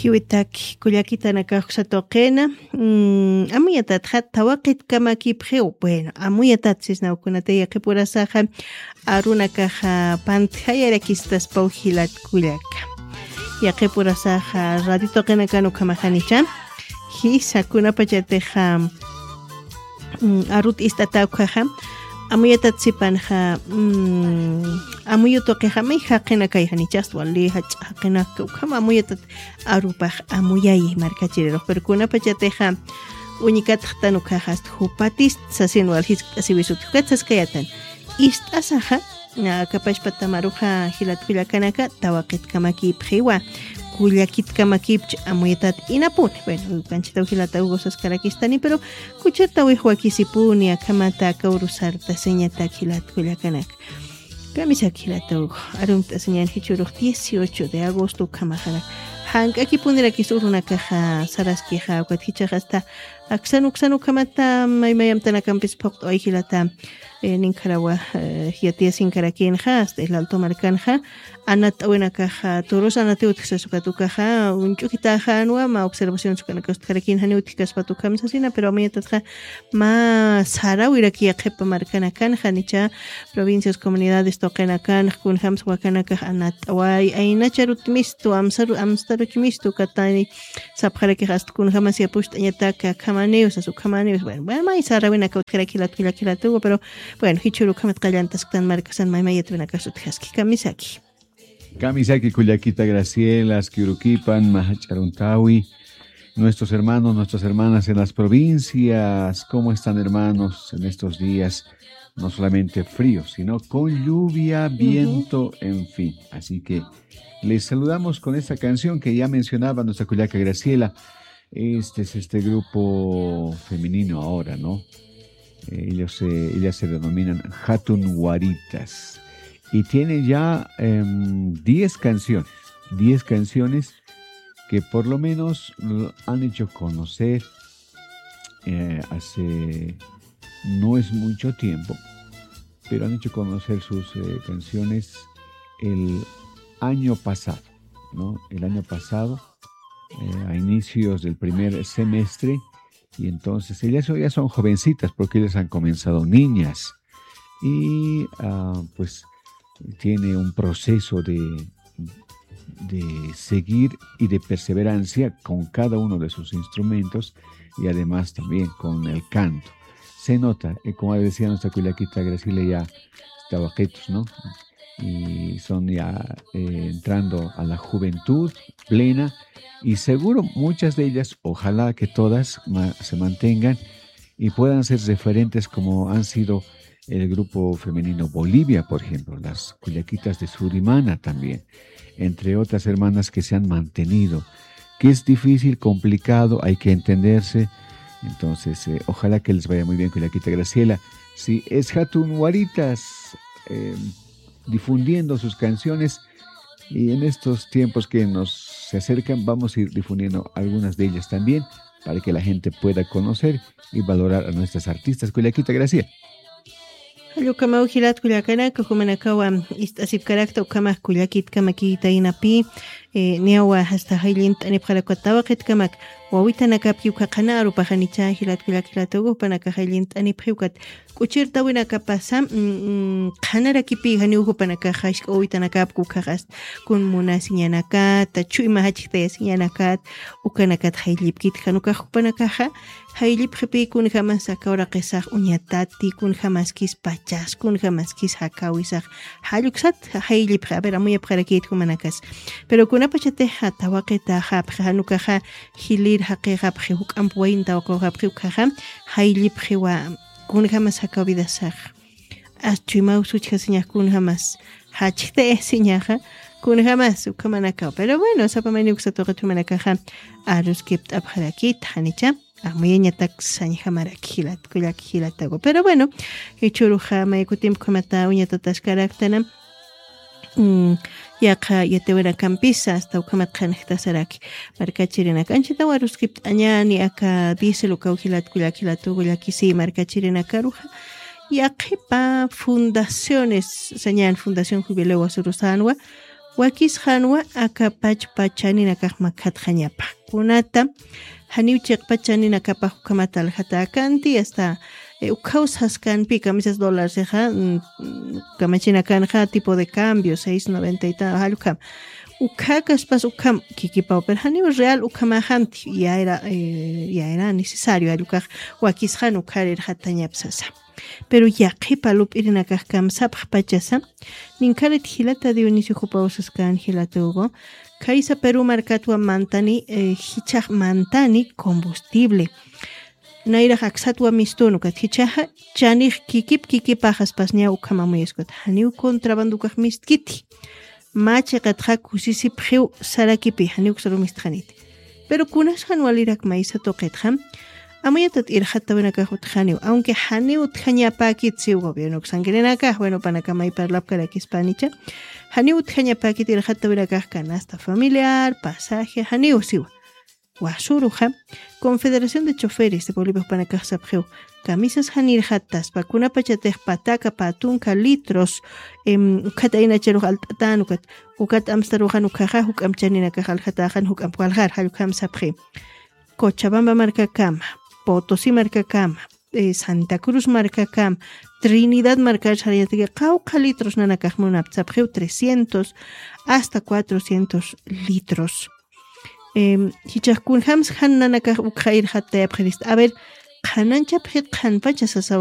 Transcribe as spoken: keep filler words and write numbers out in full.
Kiwitak kullakitanakax satuqina, mm, amuyatatxa tawaqit kamakipxiw. Bueno, amuyatat sisnawkunata yaqipurasaxa arunakaxa pantjayarakistaspaw jilat kullaka. Yaqipurasaxa radio tuqinakan ukhamaxanicha. Jisa kunapachatixa, mm, arut ist'ata ukhaxa, amuyatat sipanxa, mm, amuyu tuqixa may jaqinakay janichast wali jach'a jaqinaka ukhama amuyatat arupax amuyayi markachirirux. Pero kunapachatixa uñikatxtan ukhaxa ast jupatist sasin wal jiskt'asiwisut jukat saskayatan. Ist'asaxa, na, kapashpatamaruxa jilat kullakanaka, tawaqitkamakipxiwa, kullakitkamakiwch amuyatat inapuni. Bueno, kanchitaw jilata Hugo saskarakistani, pero kuchirtawix wakisipuni, akhamata aka urusarta señatak jilat kullakanaka. Kamisaki jilata Hugo, arumt'asiñan jichhürux dieciocho de agosto ukhamaxarak. Jank'akipunirakis urunakaxa saraskixa, ukat jichhax hasta aksan uksan ukhamata maymayamtanakampis phuqt'away jilata, eh, ninkharawa, eh, yatiyasinkarakinxa, hasta el Alto markanxa, anat'awinakaxa, toros anatiw utjsas ukat ukaxa, uñch'ukitaxanwa, mä observaciones ukanakastxarakin janiw utjkaspat ukham sasina, pero amuyatatxa, mä sarawiraki yaqhipa markanakan, janicha provincias, comunidades tuqinakan, kunjams wakanakax anat'away, aynacha arutmistu, amsaru-, amstaruchmistu, katani, sapxarakix ast kunjamas yapucht'añatak, akhamaniw, sas ukhamaniw, bueno, bueno, may sarawinaka utjaraki jilat kullak jilatuwa, pero, bueno, jichhüru ukhamat qallantasktan markasan, may mayatwinakas utjaski, kamisaki. Kamisaki kullakita Graciela, aski urukipan, mä jach'a aruntawi. Nuestros hermanos, nuestras hermanas en las provincias, ¿cómo están, hermanos, en estos días? No solamente frío, sino con lluvia, ujú, viento, en fin. Así que les saludamos con esta canción que ya mencionaba nuestra kullaka Graciela. Este es este grupo femenino ahora, ¿no? Eh, ellos se, ellas se denominan Hatun Guaritas. Y tienen ya, em, diez canciones. Diez canciones que por lo menos lo han hecho conocer, eh, hace, no es mucho tiempo, pero han hecho conocer sus, eh, canciones el año pasado, ¿no? El año pasado, eh, a inicios del primer semestre, y entonces ellas ya son jovencitas porque ellas han comenzado niñas. Y, ah, pues, tiene un proceso de, de seguir y de perseverancia con cada uno de sus instrumentos y además también con el canto. Se nota, eh, como decía nuestra cuyaquita Graciela, ya está bajitos, ¿no? Y son ya, eh, entrando a la juventud plena y seguro muchas de ellas, ojalá que todas ma-, se mantengan y puedan ser referentes como han sido el grupo femenino Bolivia, por ejemplo, las cuyaquitas de Surimana también, entre otras hermanas que se han mantenido, que es difícil, complicado, hay que entenderse. Entonces, eh, ojalá que les vaya muy bien, cuyaquita Graciela. Si es Hatun Guaritas, eh, difundiendo sus canciones, y en estos tiempos que nos se acercan, vamos a ir difundiendo algunas de ellas también, para que la gente pueda conocer y valorar a nuestras artistas. Cuyaquita Graciela. Jallukamaw jilat kullakanaka, jumanakawa ist'asipkarakta ukhama kullakitkamakita inapi, eh, niyawa hasta jayllint'anipxarakwa tawaqitkamak, wawitanakapki ukha qhana arupaxanicha jilat kullak jilata Hugo, jupanakax jayllint'anipxi ukat k'uchirtawinakapasa, mm, mm, qhanarakipi janiw jupanakaxa jisk'a wawitanakapki ukhaxas kun munasiñanakata, chuyma jachjtayasiñanakat, ukanakat jayllipkit jan ukax jupanakaxa, jayllipxipi kunjamas aka uraqisax uñatati, kunjamaskis pachas, kunjamaskis jakawisax, jalluksat jayllipxi, a ver, amuyapxarakit jumanakas. Pero kunapachatixa tawaqitaxapxi, jan ukaxa jilïr jaqixapxi, juk'amp wayn tawaqixapxi ukhaxa, jayllipxiwa, kunjamas jakawidasax. As chuymaw suchjasiñax kunjamas, jachjtayasiñaxa, kunjamas ukhamanakaw. Pero bueno, sapa mayniw uksa tuqit jumanakaxa, aruskipt'apxarakit, janicha. Amuyañatak sañjamaraki jilat, kullak jilatawa. Pero bueno, jichhüruxa may kutimp ukhamata uñatataskaraktana, mm, yaqha yatiwinakampisa, hasta ukhamat qhanjtasaraki. Markachirinaka. Anchhitaw aruskipt'añäni aka diésel ukaw jilat, kullak jilatuwa, kullakisi markachirinakaruxa. Yaqhipa fundaciones, sañän Fundación Jubileo Wasurusänwa, Wakisxanwa aka pachpa chaninakax makhatxañapa. Kunata janiw chiqpa chaninakapax ukhamat aljatäkanti, hasta, eh, ukhaw saskanpi, kamisas dólarsixa, mm, mm, kamachinakanxa tipo de cambio, seis noventa y tal, jall ukham. Ukha kaspas ukham kikipaw, pero janiw real ukhamaxanti, yayra, eh, yayra necesario, jall ukax wakisxan ukhar irxatañap sasa. Pero yaqhipa lup'irinakax kamsapxpachasa, ninkharit jilata Dionisio jupaw saskan jilata Hugo, khaysa Perú markatwa mantani, eh, jichhax mantani combustible. Nayrax aksatwa mistun ukat jichhaxa chanix kikip kikipaxaspas ña ukham amuyaskuta. Janiw contrabando ukax mistkiti. Mä chiqatxa kusisipxiw sarakipi, janiw uksaru mistxaniti. Pero kunasxan walirak maysa tuqitxa, amuyatat irxattawinakax utjaniw, aunque janiw utjañapäkit siw gobierno uksankirinakax, bueno, panaka may parlapkarakispänicha, janiw utjañapäkit irxattawinakax canasta familiar, pasaje, janiw siwa. Wasuruxa, Confederación de Choferes de Bolivia panakax sapxiw, kamisas janirxataspa, kunapachatix pataka, patunka, litros, em, ukhat aynacharux alt'atän ukat, ukat amstaruxan ukhaxa, juk'amp chaninakax aljatäxan, juk'amp waljar, jall ukham sapxi. Cochabamba markakama, Potosí markakama, eh, Santa Cruz markakama, Trinidad markar sarayataki, qawqha litros nanakax munapta sapxiw, trescientos hasta cuatrocientos litros. Em, jichhax kunjams jan nanakax ukxa irxattayapxirista. A ver, qhananchapxit qhanpacha sasaw